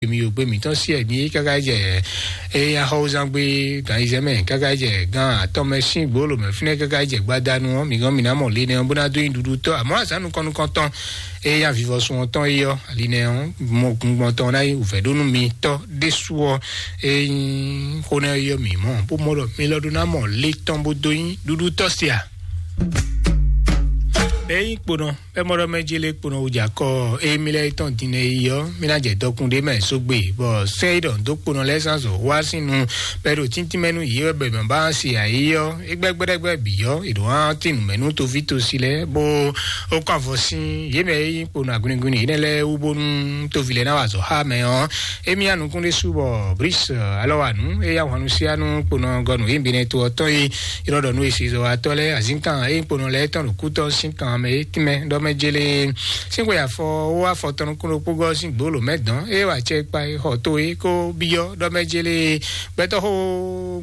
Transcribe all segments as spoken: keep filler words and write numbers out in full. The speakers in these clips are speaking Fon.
mi yogbe mǐtɔn sí ɛ ní káká jɛ eye axɔwúzán gbé gan yizɛ mɛ káká jɛ gan atɔn mɛ sín gbolo mɛ fínɛ́ káká jɛ gbadanu ɔ́, mi gán mi ná mɔ le nɛ ɔ́ bó ná dó nyi ɖuɖu tɔ́. Àmọ́ azǎn nukɔn nukɔntɔn eye avivɔsun ɔ́ tɔn yi ɔ́, ali nɛ ɔ́ mɔ gungbɔn tɔn ná yi wǔvɛ́ ɖó nú mi tɔ́ ɖésú ɔ́. Eye xó nɛ yɔ mǐ mɔ bó mɔ ɖɔ mi lɔ ɖó ná mɔ le tɔn bó dó nyi ɖuɖu tɔ́ sia. Bɛ́ yí kponɔ bɛ́ mɔ ɖɔ mɛ jí lé kponɔ wújà kɔ eye mi lɛ tɔn din nɛ yi ɔ́, mi ná jɛ dɔkun ɖé mɛ sógbe bɔ sɛ́ yi ɖɔ dó kponɔ lɛ́ɛ zán zɔ wá sín nu bɛ́ ɖo tíntín mɛ nú yě wɛ bɛ mɛ bá se ayé ɔ́, é gbɛ́ gbɛ́ɖɛ́gbɛ́ bǐ ɔ́, è ɖǒ hán tín nǔ mɛ nú tovítosí lɛ́ɛ bó ó kɔ avɔ sín yě mɛ e nyí kponɔ aguniguni énɛ́ lɛ́ɛ wú bónú toví lɛ́ɛ ná wa azɔ̌ xá mɛ ɔ́. Émí ya nukún ɖésú bɔ Bris alɔ wa nǔ, é ya hwannu síá nú kponɔ gɔnu yě bǐ nɛ́ to ɔ́ tɔn e ylɔ́ ɖɔ nú esezɔwatɔ́ lɛ́ɛ azínkan e kponɔ lɛ́ɛ tɔn ɖo kútɔ́ sín kan mɛ é tínmɛ ɖɔ mɛ jélé. Sín xwe afɔ wó afɔ tɔn nukún ɖokpó gɔ́ sín gbǒ lǒ mɛ dɔn, é wa acɛ kpa e xɔ to é kó byɔ́ ɖɔ mɛ jélé. Gbɛtɔ́ xó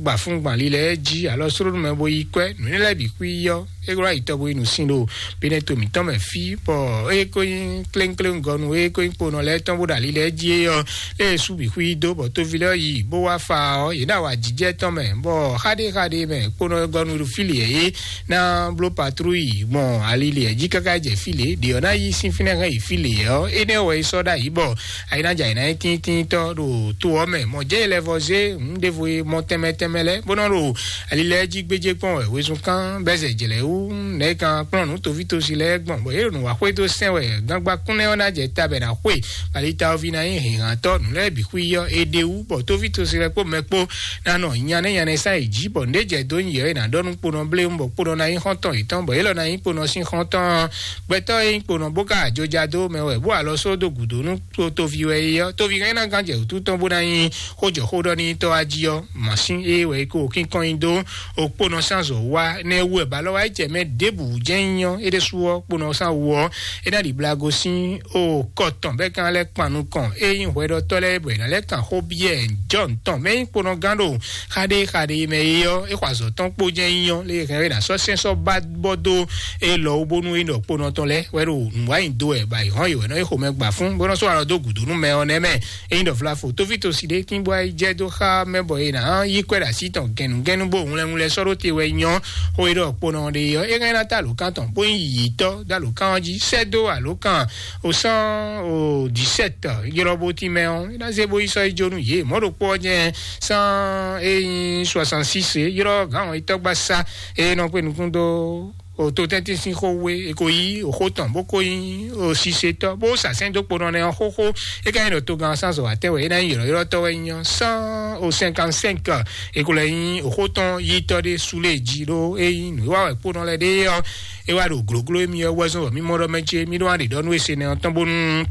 gba fún gban lilɛ jí alɔ slóɖó mɛ bó yí kwɛ́ nǔ lɛ́ɛ bǐ xwí yɔ é wlá yi tɔgbo yi nǔsin ɖo Beneto mǐtɔn mɛ fí, bɔ é ko nyí kléŋkléŋgɔnu, é ko nyí kponɔ lɛ́ɛ tɔn bó ɖo ali lɛ́ɛ jí é ɔ́, é sú bǐ xwí dó, bɔ toví lɛ́ɛ yi bó wá fa ɔ́, yě ɖo awǎjijɛ tɔn mɛ, bɔ xáɖéxáɖé mɛ kponɔ gɔnu ɖo fí lě é ná bló patlúyi gbɔn ali lě jí káká jɛ fí lě, ɖě ɔ́ ná yí sín fínɛ́ hɛn yi fí lě ɔ́, énɛ́ wɛ é sɔ́ ɖ'ayǐ bɔ ayi ná jɛ ayǐ ná nyí tíntíntɔ́ ɖo to ɔ́ mɛ. Mɔ jɛ lɛ́ vɔ zé nǔ ɖěvo e mɔ tɛnmɛ tɛnmɛ lɛ́ɛ, bó nɔ́ ɖo ali lɛ́ɛ jí gbéjé kpɔ́n wɛ wezun kán bɛ́ zɛ jlɛ̌ wú nɛ̌ kan kplɔ́n nǔ toví tosi lɛ́ɛ gbɔn, bɔ yě ɖo nǔ wa xwedó sɛn wɛ gángbá kúnlɛ́ ɔ́ ná jɛ ta bɛ ná xwe. Alitawoví ná nyí hǐnhǎntɔ́ nǔ lɛ́ɛ bǐ xwí yɔ é ɖe wú, bɔ toví tosi lɛ́ɛ kpó mɛ kpó ná nɔ nyanɛ́ nyanɛ́ sán yě jí, bɔ nǔ ɖé jɛ dó nyi yɛ é ná ɖɔ nú kponɔ bléwún, bɔ kponɔ ná nyí xɔ́ntɔn yětɔn, bɔ yě lɔ ná nyí kponɔ sín xɔ́ntɔn. Gbɛtɔ́ e nyí kponɔ bó ka ajoja dó mɛ wɛ bó alɔ só dó gǔdo nú to toví wɛ é ɔ́, toví hɛn ná gán jɛ wǔtu tɔn bó ná nyí xójɔxóɖɔnítɔ́ wá jí ɔ́, mǎsín é wɛ é ko kínkɔ́n nyi dó. Okponɔ sán zɔ wá nɛ́ wú wɛ balɔ́ wá yi jɛ mɛ ɖěbǔ jɛ́n nyí ɔ́, é ɖésú ɔ́ kponɔ sán wú ɔ́, é ná ɖi blago sín o kɔ tɔn bɛ́ kan lɛ́ kpan nukɔn é nyí hwɛɖɔtɔ́ lɛ́ɛ bɔ è nǎ lɛ́ kan xó byɔ́ ɛ jɔ́ tɔn mɛ nyí kponɔ gán ɖo xaɖé xaɖé mɛ é ɔ́, é xɔ azɔ̌ tɔn kpó jɛ́n nyí ɔ́, lě e hɛn é ná sɔ́ sɛn sɔ́ ba bɔ dó é lɔ wú bónú é ɖɔ kponɔ tɔn lɛ́ɛ wɛ ɖo nǔ wa nyi dó wɛ ba yi hɔn yi wɛ nɔ é xomɛ gba fún bó nɔ sɔ́ alɔ dó gǔdo nú mɛ ɔ́ nɛ́ mɛ. Ényí ɖɔ vlafo tófítosi ɖé tín bɔ é jɛ dó xá mɛ bɔ è nǎ yí kwɛ́ ɖo así tɔn gɛ̌nugɛ́nu bó hwlɛ́nhwlɛ́n sɔ́ ɖó te wɛ nyɔ́ xó e ɖɔ kponɔ ɖe ɔ́, é hɛn ná ta alǒkan tɔn bó nyí yǐtɔ́ dó alǒkan ɔ́ jí sɛ́ dó alǒkan o cent dix-sept ylɔ́ bó tín mɛ ɔ́, é ná zé bó yi sɔ́ yi jó nú yě. Mɔ̌ ɖokpó ɔ́ jɛ cent et soixante-six ylɔ́ gǎn ɔ́ yi tɔ́gbasá e nɔ kpé nukún dó o to tɛ́ntin sín xó wé, e ko yí o xó tɔn bó ko nyí o sisetɔ́ bó sasɛn dó kponɔ nɛ ɔ́ xóxó. É ka nyí ɖɔ togán sánzɔ wǎtɛn wɛ é ná nyí ylɔ̌ylɔ́tɔ́ wɛ nyí ɔ́, cent o cinquante-cinq, e ko lɛ nyí o xó tɔn yítɔ́ ɖé súlé jí ɖó é nyí nǔ e wa wɛ kponɔ lɛ́ɛ ɖe ɔ́, é wá ɖo glǒgló émí ɔ́ wɛzɔ́n wɛ mí mɔ ɖɔ mɛ ce mí ɖó wá ɖe ɖɔ nú e se nɛ ɔ́ tɔn bónú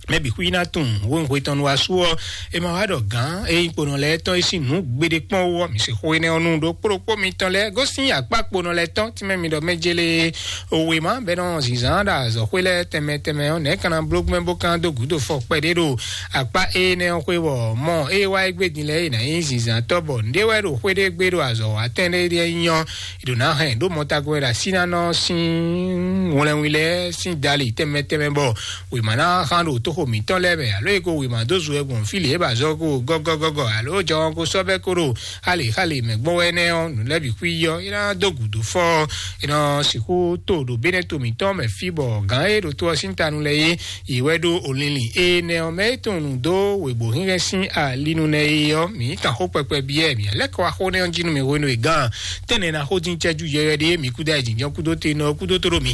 mɛ bǐ xwí ná tunwun wěnxwe tɔn nu asú ɔ́, è ma wá ɖɔ gǎn e nyí kponɔ lɛ́ɛ tɔn e sín nǔ gbeɖé kpɔ́n wú ɔ́, mi se xó énɛ́ ɔ́ nu ɖó kplɔ́kpó mitɔn lɛ́ɛ gosín akpá kponɔ lɛ́ɛ tɔn tínmɛ mi ɖɔ mɛ jélé. Òwe má bɛ nɔ zǐnzán ɖo azɔ̌xwé lɛ́ɛ tɛnmɛ tɛnmɛ ɔ́, nɛ̌ ka ná bló gbɛ́ bó ka ná dó gǔdo fɔ kpɛɖé ɖo akpá énɛ́ ɔ́ xwé bɔ mɔ ée wá é gbé din lɛ́ɛ é ná nyí zǐnzántɔ́ bɔ nǔɖé wɛ ɖo xwé ɖé gbé ɖo azɔ̌ wa tɛn ɖé ɖíe nyí ɔ́, è ɖǒ ná hɛn ɖó mɔtagun wɛ ɖo asínánɔ sín wlɛnwí lɛ́ɛ sín dali tɛnmɛ tɛnmɛ bɔ wěma ná hán ɖo tóxo mǐtɔn lɛ́ɛ mɛ, alo é ko wěma dó zu wɛ gbɔn fí lě é ba zɔ ko gɔ́gɔ́gɔ́gɔ́, alo jɔ ko sɔ́ bɛ́ ko ɖo xale xale mɛ gbɔn wɛ nɛ́ ɔ́, nǔ lɛ́ɛ bǐ xwí yɔ é ná dó gǔdo fɔ é nɔ sixú to ɖo bénɛ́ to mǐtɔn mɛ fí bɔ gǎn e ɖo to ɔ́ sín tanu lɛ́ɛ é, yě wɛ ɖó olinlin énɛ́ ɔ́ mɛ é tunwun nǔ dó wěgbó hínhɛ́n sín alinu nɛ́ é ɔ́, mǐ kan xó kpɛkpɛ byɔ́ mǐ lɛ́ kɔ wá xó nɛ́ ɔ́ jí nú mǐ hwenu e gǎn tɛ́nnɛ ná xó dín cɛ́jú yɛyɔ́ ɖé mǐ kúdó e jǐnjɔ́n kúdó te nɔ ɔ́ kúdó tó ɖo mǐ.